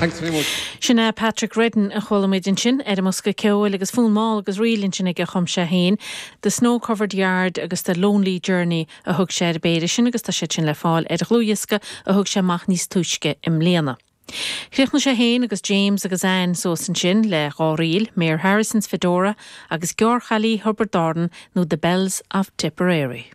Thanks very much. Sin é Patrick Reddin a chuala muid ansin ar an mbosca ceoil agus fonn mall agus ríl ansin aige a chum sé féin, The Snow Covered Yard agus The Lonely Journey a thug sé ar an bpéire sin agus tá siad sin le fáil ar dhlúthdhiosca a thug sé amach níos túisce i mbliana. Chríochnaigh sé féin agus James agus Anne suas ansin le dha ríl, Mayor Harrison's Fedora agus Gearrchailí Thiobraid Árann nó The Belles of Tipperary.